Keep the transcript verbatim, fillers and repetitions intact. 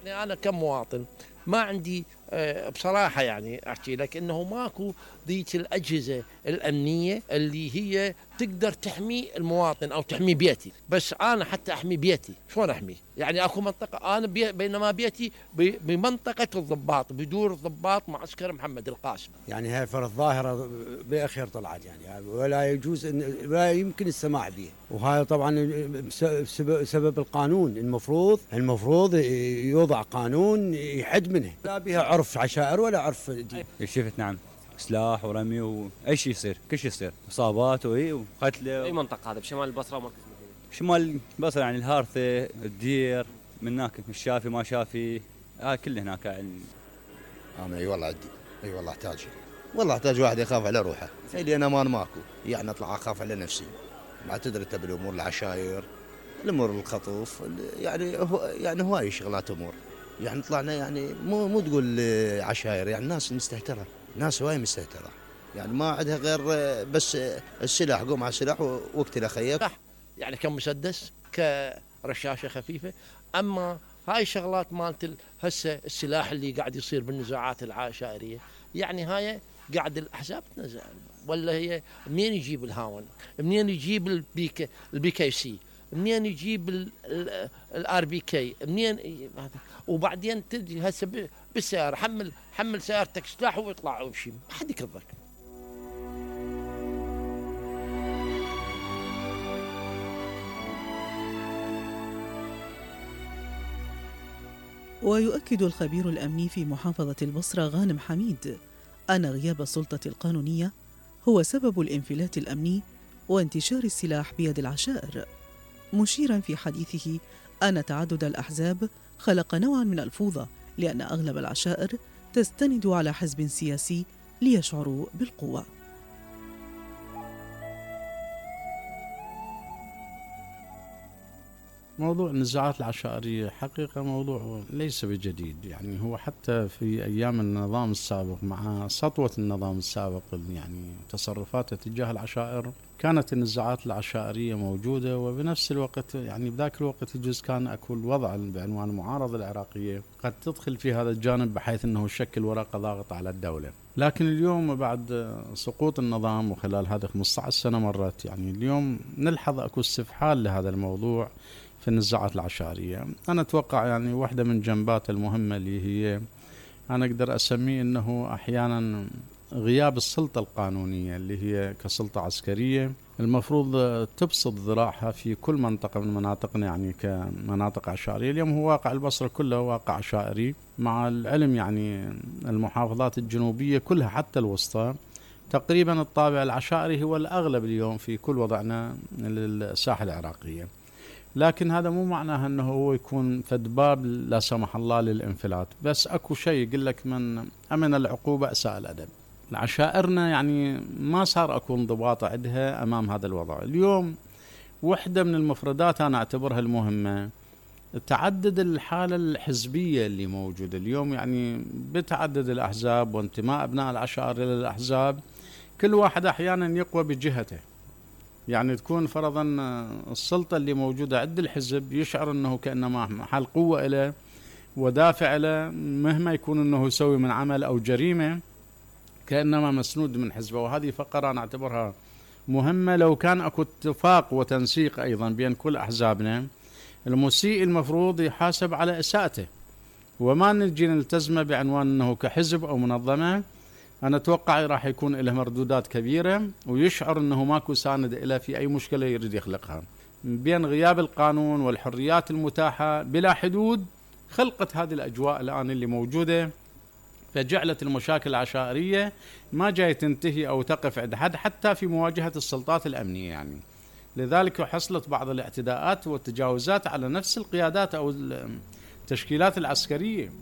يعني أنا كمواطن ما عندي آه، بصراحة يعني أحكي لك إنه ماكو ذيك الأجهزة الأمنية اللي هي تقدر تحمي المواطن أو تحمي بيتي. بس أنا حتى أحمي بيتي شلون أحميه؟ يعني أكو منطقة أنا بي بينما بيتي ب- بمنطقة الضباط، بدور الضباط معسكر محمد القاسم. يعني هاي فرض ظاهرة بأخير طلعت يعني، ولا يجوز إن ولا يمكن السماح به. وهذا طبعا بسبب سبب القانون. المفروض المفروض يوضع قانون يحد منه، لا بها عرف عشائر ولا عرف دين. شفت نعم، سلاح ورمي واي شيء يصير، كل شيء يصير، اصابات واي وقتله. اي منطقه هذا بشمال البصره ومركز المدينه؟ شمال البصره يعني الهارثه، الدير، من هناك الشافي ما شافي، هاي كله هناك يعني. انا اي والله عندي، اي والله احتاج، والله احتاج واحد يخاف على روحه، لان امان ماكو، يعني اطلع اخاف على نفسي. ما تدري انت بالامور العشاير، الامور الخطوف، يعني هو يعني هواي شغلات امور. يعني طلعنا يعني مو مو تقول عشاير، يعني ناس مستهتره، ناس هواي مستهتره، يعني ما عندها غير بس السلاح، قوم على السلاح واقتل اخيك. يعني كمسدس كرشاشه خفيفه. اما هاي الشغلات مالت هسه السلاح اللي قاعد يصير بالنزاعات العشائريه، يعني هاي قاعد الاحزاب تنزع، ولا هي منين يجيب الهاون؟ منين يجيب البيك البي كي سي؟ منين يجيب الار بي كي؟ منين هذا؟ وبعدين تجي هسه بالسياره، حمل حمل سيارتك سلاح ويطلع ويمشي، ما حد يكذبك. ويؤكد الخبير الأمني في محافظة البصرة غانم حميد أن غياب السلطة القانونية هو سبب الانفلات الأمني وانتشار السلاح بيد العشائر، مشيراً في حديثه أن تعدد الأحزاب خلق نوعاً من الفوضى، لأن أغلب العشائر تستند على حزب سياسي ليشعروا بالقوة. موضوع النزاعات العشائرية حقيقة موضوع ليس بجديد، يعني هو حتى في أيام النظام السابق مع سطوة النظام السابق يعني تصرفاته تجاه العشائر كانت النزاعات العشائرية موجودة، وبنفس الوقت يعني بذاك الوقت يجوز كان أكو الوضع بعنوان المعارضة العراقية قد تدخل في هذا الجانب بحيث أنه يشكل ورقة ضاغطة على الدولة. لكن اليوم بعد سقوط النظام وخلال هذه خمسة عشر سنة مرت، يعني اليوم نلحظ أكو استفحال لهذا الموضوع في النزاعات العشائرية. أنا أتوقع يعني واحدة من جنبات المهمة اللي هي أنا أقدر أسميه أنه أحيانا غياب السلطة القانونية اللي هي كسلطة عسكرية المفروض تبسط ذراعها في كل منطقة من مناطقنا يعني كمناطق عشائرية. اليوم هو واقع البصرة كله واقع عشائري، مع العلم يعني المحافظات الجنوبية كلها حتى الوسطى تقريبا الطابع العشائري هو الأغلب اليوم في كل وضعنا للساحة العراقية. لكن هذا مو معناه أنه هو يكون فد باب لا سمح الله للانفلات، بس أكو شيء يقول لك من أمن العقوبة أساء الأدب. العشائرنا يعني ما صار أكو انضباط عندها أمام هذا الوضع. اليوم وحدة من المفردات أنا أعتبرها المهمة تعدد الحالة الحزبية اللي موجودة اليوم، يعني بتعدد الأحزاب وانتماء أبناء العشائر إلى الأحزاب، كل واحد أحيانا يقوى بجهته. يعني تكون فرضا السلطة اللي موجودة عند الحزب يشعر أنه كأنما محل قوة له ودافع له، مهما يكون أنه يسوي من عمل أو جريمة كأنما مسنود من حزبه. وهذه فقرة أنا أعتبرها مهمة. لو كان أكو اتفاق وتنسيق أيضا بين كل أحزابنا، المسيء المفروض يحاسب على إساءته وما نجي نلتزمه بعنوان أنه كحزب أو منظمة. أنا أتوقع راح يكون له مردودات كبيرة ويشعر أنه ماكو ساند إله في أي مشكلة يريد يخلقها. بين غياب القانون والحريات المتاحة بلا حدود خلقت هذه الأجواء الآن اللي موجودة، فجعلت المشاكل العشائرية ما جاي تنتهي أو تقف عند حد حتى في مواجهة السلطات الأمنية. يعني لذلك حصلت بعض الاعتداءات والتجاوزات على نفس القيادات أو التشكيلات العسكرية.